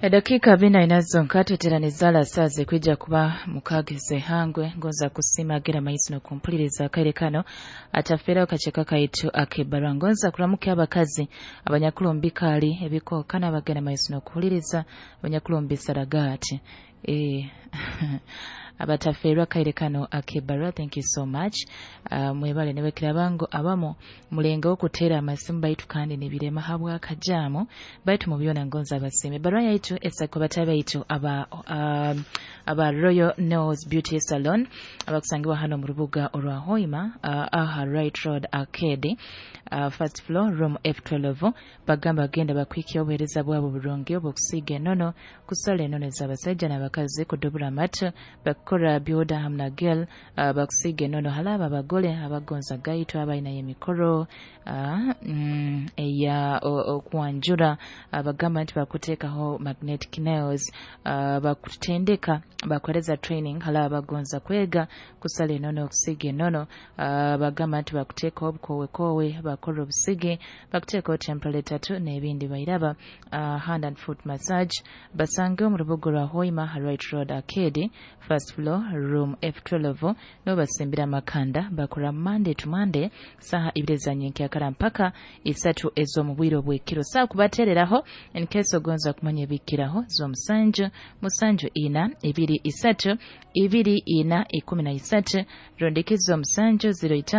Edakika 44 zonka tweteraniza saaze kwija kuba mukageze hangwe. Ngonza kusima gera maiso nokumpuliriza akaire kano atafera kacheka kaitu akebarwa. Ngonza kuramuka abakazi abanyakulombi kali ebikoka n'abagenda maiso nokuhuliriza abanyakulombi saragati abatafeerwa kaire kano akebarwa. Thank you so much. Mwebale nebekirabango abamu mulenga okutera amasimu baitu kandi nibirema habwakajamu baitu mubyona ngonza abasime. Barwa yaitu esako batabe aba aba Royal Nails Beauty Salon abakusangibwa hano mu rubuga orwa Hoima, aha Right Road Arcade, first floor, room F12. Bagamba genda bakwikia obuhereza bwabo burungi obwokusiiga enono, kusala enono z'abasajja n'abakazi, kudubura amatu, bakukora byoda hamwe na gel, bakusiiga enono halaba abagole abagonza gaitu abalina emikoro eya okwanjura. Bagamba nti bakuteekaho magnetic nails, bakutendeka, bakuhereza training halaba abagonza kwega kusala enono, okusiiga enono. Bagamba nti bakuteekaho obukowekowe, bakora obusige, bakuteekaho temporary tattoo n'ebindi bairaba, hand and foot massage. Basange omu rubuga rwa Hoima, Right Road Arcade, first floor, room F12. No basimbira amakanda. Bakora Monday to Monday saha 2 za nyenkyakara mpaka 3 ez'omu bwire obw'ekiro. Saa kubatereraho in case ogonza kumanya ebikiraho 07 7 4 2 3 2 4 13 rondikizo 7 05.